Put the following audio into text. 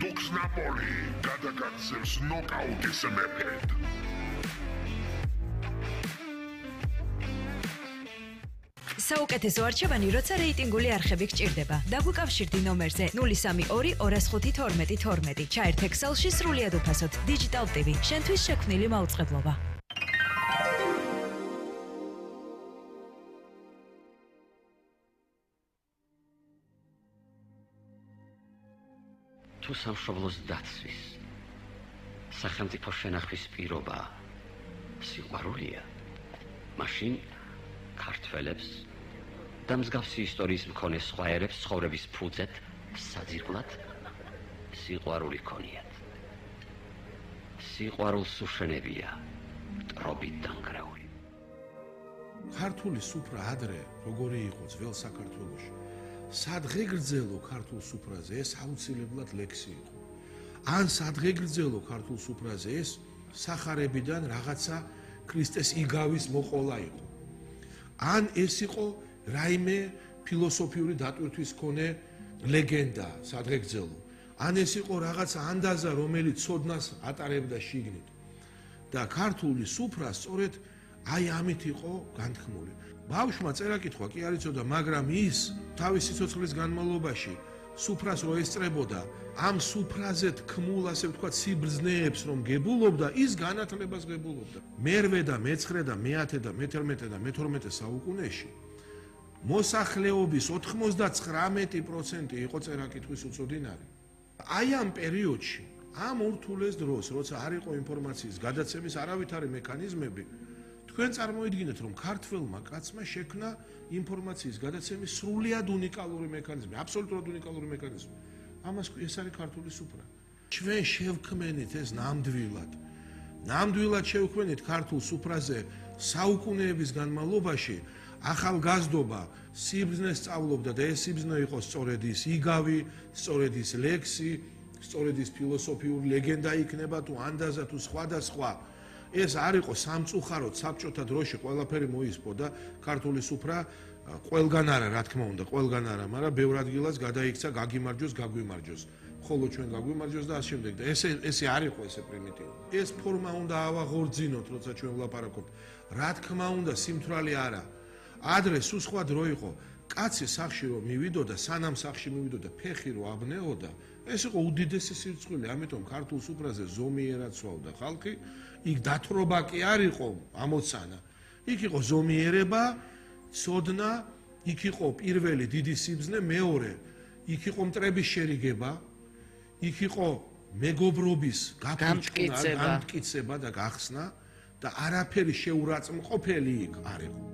დუქს ნაპოლი გადაგაცემს ნოკაუტის მეფედ. საუკეთესო არჩევანი, როცა რეიტინგული არხები გჭირდება. დაგვიკავშირდი ნომერზე 032 205 12 12. ჩაერთ Excel-ში სრულიად უფასოდ. Digital TV, შენთვის შექმნილი მაუწყებლობა. თუ სამშობლოს დაცვის, სახელმწიფო შენახვის პირობა სიყვარულია, მაშინ ქართველებს და მსგავსი ისტორიის მქონე სხვა ერებს ცხოვრების ფუძედ საძირკვლად სიყვარული ქონიათ. სიყვარულს უშენებია მტრობით დანგრეული. ქართული სუფრა ადრე როგორი იყო ძველ საქართველოში? სადღეგრძელო ქართულ სუფრაზე ეს აუცილებლად ლექსი იყო. ან სადღეგრძელო ქართულ სუფრაზე ეს სახარებიდან რაღაცა ქრისტეს იგავის მოყოლა იყო. ან ეს იყო რაიმე ფილოსოფიური დატვირთვის მქონე ლეგენდა სადღეგრძელო. ან ეს იყო რაღაცა ანდაზა, რომელიც ცოდნას ატარებდა შიგნით. და ქართული სუფრა სწორედ აი ამით იყო განთქმული. ბავშვმა წერა-კითხვა კი არ იცოდა, მაგრამ ის თავისი სიცოცხლის განმავლობაში სუფრას რო ესწრებოდა, ამ სუფრაზე თქმულ, ასე ვთქვათ, სიბრძნეებს რომ გებულობდა, ის განათლებას გებულობდა. მერვე და მეცხრე და მეათე და მე-11 და მე-12 საუკუნეში მოსახლეობის 99% იყო წერა-კითხვის უწოდინარი. აი ამ პერიოდში, ამ ურთულეს დროს, როცა არ იყო ინფორმაციის გადაცემის არავითარი მექანიზმები, თქვენ წარმოიდგინეთ, რომ ქართველმა კაცმა შექმნა ინფორმაციის გადაცემის სრულიად უნიკალური მექანიზმი, აბსოლუტურად უნიკალური მექანიზმი. ამას ეს არის ქართული სუფრა. ჩვენ შევქმნით ეს ნამდვილად. ნამდვილად შევქმნით ქართულ სუფრაზე საუკუნეების განმავლობაში ახალგაზრდობა სიბრძნეს სწავლობდა და ეს სიბრძნე იყო სწორედ ის იგავი, სწორედ ის ლექსი, სწორედ ის ფილოსოფიური ლეგენდა იქნება თუ ანდაზა თუ სხვა და სხვა. ეს არ იყო სამწუხაროდ საბჭოთა დროში ყველაფერი მოისპო და ქართული სუფრა ყველგან არა, რა თქმა უნდა, ყველგან არა, მაგრამ ბევრ ადგილას გადაიქცა გაგიმარჯოს, გაგვიმარჯოს. ხოლო ჩვენ გაგვიმარჯოს და ამ შემდეგ და ესე არ იყო ესე პრიმიტიული. ეს ფორმა უნდა ავაღორძინოთ, როცა ჩვენ ვლაპარაკობთ. რა თქმა უნდა, სიმთვრალე არა. ადრე სულ სხვა დრო იყო. კაცი სახში რომ მივიდოდა, სანამ სახში მივიდოდა, ფეხი რომ აბნეოდა, ეს იყო უდიდესი სირცხვილი, ამიტომ ქართულ სუფრაზე ზომიერად სვავდა ხალხი. იქ დათრობა კი არ იყო ამოცანა. იქ იყო ზომიერება, ცოდნა, იქ იყო პირველი დიდი სიბრძნე, მეორე, იქ იყო მტრების შერიგება, იქ იყო მეგობრობის გამტკიცება და გახსნა და არაფერი შეურაცხმყოფელი იქ არ იყო.